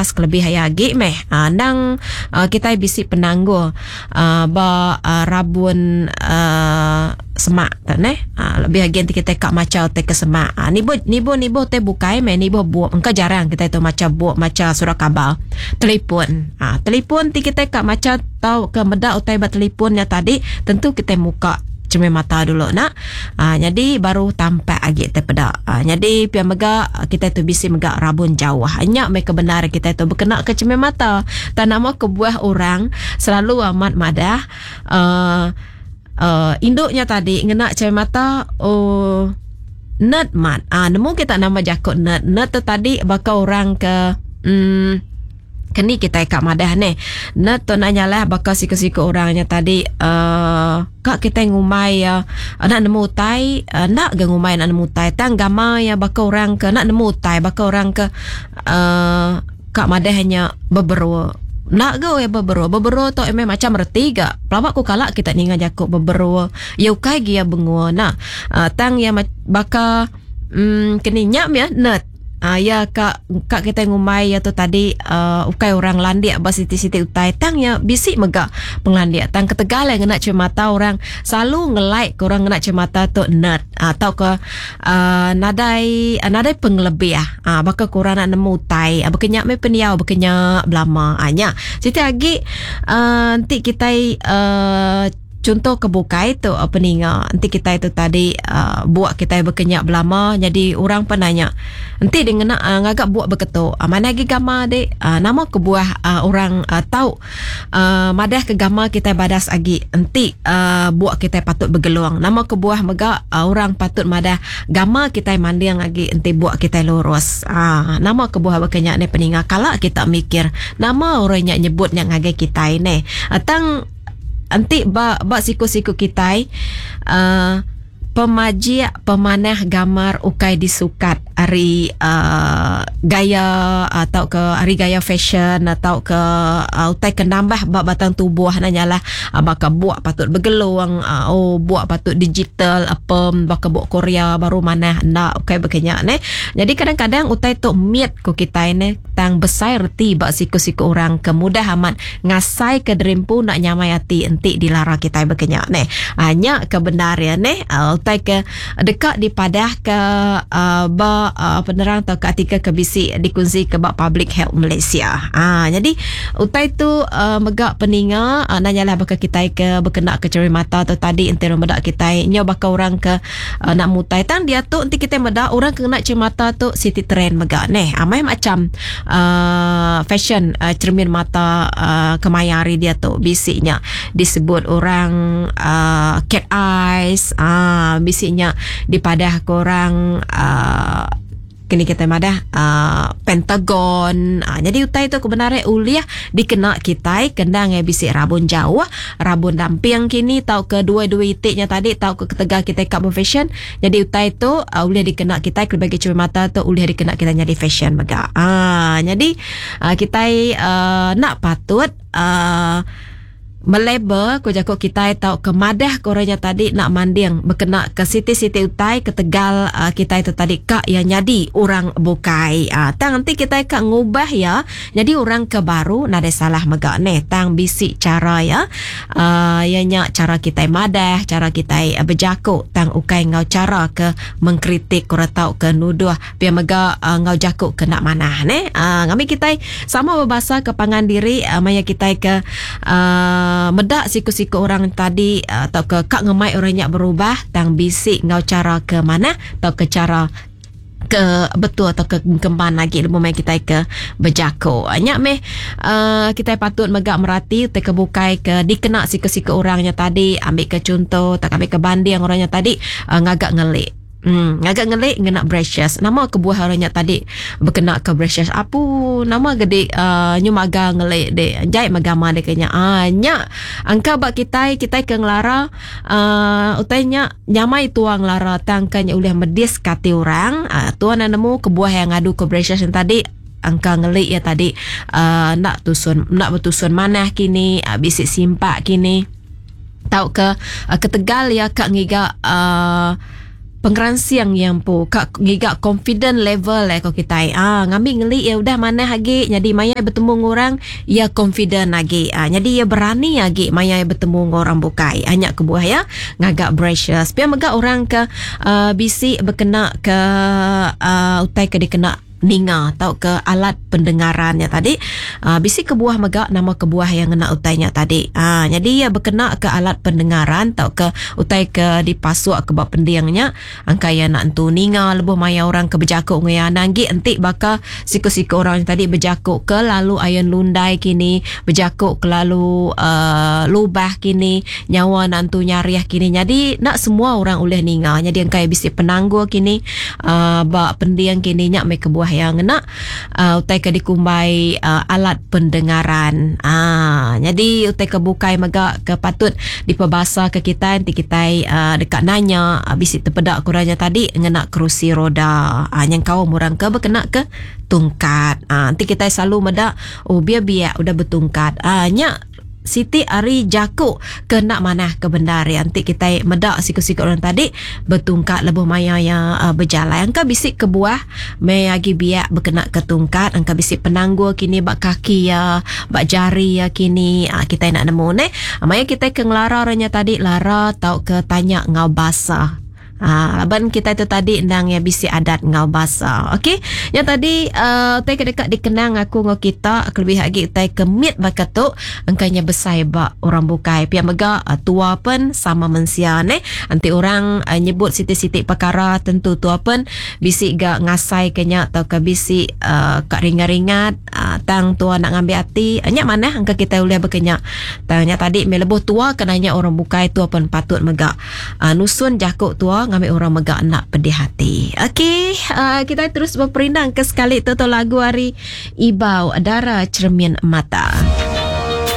kelas kelebih iya agi meh endang kitai bisi penanggul ba rabun semak tu neh. Lebih agi enti kitai ka macha utai ke semak. Nibuh nibuh nibuh utai bukai meh nibuh bup engka jarang kitai tu macha bup macha surat khabar. Telefon telefon ti kitai ka macha tauka meda utai ba telefon nya tadi tentu kitai muka cermin mata dulu nak. Aa nyadi baru tampak agi tai peda. Aa nyadi pia mega kitai tu bisi mega rabun jauh. Nya meh ke bendar kitai tu bekena ke cermin mata. Tang nama kebuah orang selalu amat madah aaa aaa indu nya tadi ngena cermin mata ooh nerd mat. Aa nemu kita nama jaku nerd. Nerd tu tadi baka orang ke emm Keni kitai ka madah neh. Ne tu enda nyalah baka siku-siku orang nya tadi uhh ka kitai ngumbai iya enda nemu utai enda ga ngumbai enda nemu utai tang gama iya baka orang ke enda nemu utai baka orang ke uhh ka madah nya beberu. Enda ga iya beberu. Beberu tu meh macam reti ga. Pelaba ku kala kita ninga jaku beberu. Iya ukai gi iya bengu enda. Tang iya baka uhh keni nya mih nerd. Aa iya ka ka kitai ngumbai iya tu tadi uhh ukai orang landik ba siti-siti utai tang iya bisi mega pengelandik tang ketegal iya ngena cermata orang selalu ngelike ke orang ngena cermata tu nerd uhh tauka uhh nadai nadai pengelebih uhh baka ke orang enda nemu utai baka nya meh pendiau baka nya belama uhh nya. Siti agi uhh enti kitai uhh. Chunto ke bukai tu peninga enti kitai tu tadi uhh buk kitai baka nya belama nyadi orang pun nanya enti deh ngena ngaga buk baka tu manah agi gama deh uhh nama kebuah uhh orang uhh tau uhh madah ke gama kitai badas agi enti uhh buk kitai patut begelung nama kebuah mega orang patut madah gama kitai manding agi enti buk kitai lurus uhh nama kebuah baka nya neh peninga kala kita mikir nama orang nya nyebut nya ngagai kitai neh tang Enti ba ba siku-siku kitai uhh pemajik pemanah gamar ukai disukat ari uhh gaya tauka ari gaya fashion tauka utai ke nambah ba batang tubuh ne nyalah baka buk patut begelung uhh buk patut digital ape baka buk korea baru manah enda ukai baka nya neh. Nyadi kadang-kadang utai tu mit ku kitai neh tang besai reti ba siku-siku orang ke mudah amat Ngasai ke diri empu enda nyamai ati enti dilara kitai baka nya neh. Aa nya ke bendar iya neh utai ke deka dipadah ke aa ba penerang tauka artikel ke bisi dikunsi ke ba Public Health Malaysia. Aa nyadi utai tu mega peninga enda nyalah baka kitai ke bekena ke cermin mata tu tadi enti orang meda kitai nyau baka orang ke enda mutai. Tang diatu enti kitai meda orang ke ngena cermin mata tu siti trend mega neh. Amai macham. uhh fashion cermin mata uhh kemaya hari diatu bisi nya disebut orang uhh cat eyes uhh bisi nya dipadah ke orang uhh kini kitai madah uhh pentagon uhh nyadi utai tu kebenar iya ulih dikena kitai kendang iya bisi rabun jauh rabun damping kini tauka dua-dua iti nya tadi tauka ketegal kitai ka befashion Nyadi utai tu ulih dikena kitai kelebih agi cermin mata tu ulih dikena kitai nyadi fashion mega. Aaa nyadi kitai aaa enda patut aaa melabel ku jaku kitai tauka madah ke orang nya tadi enda manding bekena ke siti-siti utai ketegal kitai tu tadi ka iya nyadi orang bukai. Aaa tang enti kitai ka ngubah iya nyadi orang ke baru nadai salah mega neh tang bisi chara iya. Aaa iya nya chara kitai madah, chara kitai bejaku tang ukai enggau chara ke mengkritik orang tauka nuduh pia mega enggau jaku ke enda manah neh. Aaa ngambi kitai sama bebasa ke pangan diri maya kitai ke aaa meda siku-siku orang tadi tauka ka ngemai orang nya berubah tang bisi enggau chara ke manah tauka chara ke betul atau ke engkeman agi lebuh maya kitai ke bejaku. Nya meh uhh kitai patut mega merati utai ke bukai ke dikena siku-siku orang nya tadi ambi ke chunto tauka ambi ke banding orang nya tadi uhh ngaga ngeli. Uhh ngaga ngeli ngena brushes. Nama kebuah orang nya tadi bekena ke brushes. Apu nama ga dik uhh nyu maga ngeli dik jai mega ma dik nya. Uhh nya angka ba kitai, kitai ke ngelara uhh utai nya. Nyamai tua ngelara tang ka nya ulih medis ka ati orang. Tua enda nemu kebuah iya ngadu ke braces nya tadi engka ngeli iya tadi uhh enda tusun enda betusun manah kini bisi simpak kini tauka ketegal iya ka ngiga uhh. pengeransing iya empu ka ngiga confident level eh ko kitai ah ngambi ngeli iya udah manah agi nyadi maya iya betemu enggau orang iya confident agi ah nyadi iya berani agi maya iya betemu enggau orang bukai. Ah nya kebuah iya ngaga braces. Pia mega orang ke uhh bisi bekena ke uhh utai ke dikena ninga tauka alat pendengaran nya tadi uhh bisi kebuah mega nama kebuah iya ngena utai nya tadi. Uhh nyadi iya bekena ke alat pendengaran tauka utai ke dipasuk ke ba pending nya angka iya enda entu ninga lebuh maya orang ke bejaku enggau iya. Anang agi enti baka siku-siku orang nya tadi bejaku ke lalu ayun lundai kini bejaku kelalu uhh lubah kini nyawa enda entu nyarih kini nyadi enda semua orang ulih ninga. Nyadi engka iya bisi penanggul kini. uhh ba pending kini nya meh kebuah iya ngena uhh utai ke dikumbai uhh alat pendengaran uhh nyadi utai ke bukai mega ke patut dipebasa ke kitai enti kitai uhh deka nanya bisi tepeda ku orang nya tadi ngena kerusi roda uhh nyengkaum orang ke bekena ke tungkat uhh enti kitai selalu meda oh biak biak udah betungkat uhh nya Siti ari jaku ke enda manah ke bendar iya enti kitai meda siku-siku orang tadi betungkat lebuh maya iya bejalai. Engka bisi kebuah meh agi biak bekena ke tungkat, engka bisi penanggul kini ba kaki iya, ba jari iya kini kitai enda nemu neh. Maya kitai ke ngelara orang nya tadi lara tauka tanya enggau basa. Haa laban kitai tu tadi endang iya bisi adat enggau basa. Okey. Nya tadi uhh utai ke deka dikenang aku enggau kita kelebih agi utai ke mit baka tu engka nya besai ba orang bukai. Pia mega tua pen sama mensia neh. Enti orang nyebut siti-siti pekara tentu tua pen bisi ga ngasai ke nya tauka bisi uhh ka ringat-ringat uhh tang tua enda ngambi ati. Nya manah engka kitai ulih baka nya. Tang nya tadi meh lebuh tua ke nanya orang bukai tua pen patut mega. Nusun jaku tua ngambi orang mega enda pedih ati. Okey, kitai terus beperindang ke sekali tu tu lagu ari Ibau Dara Cermin Mata.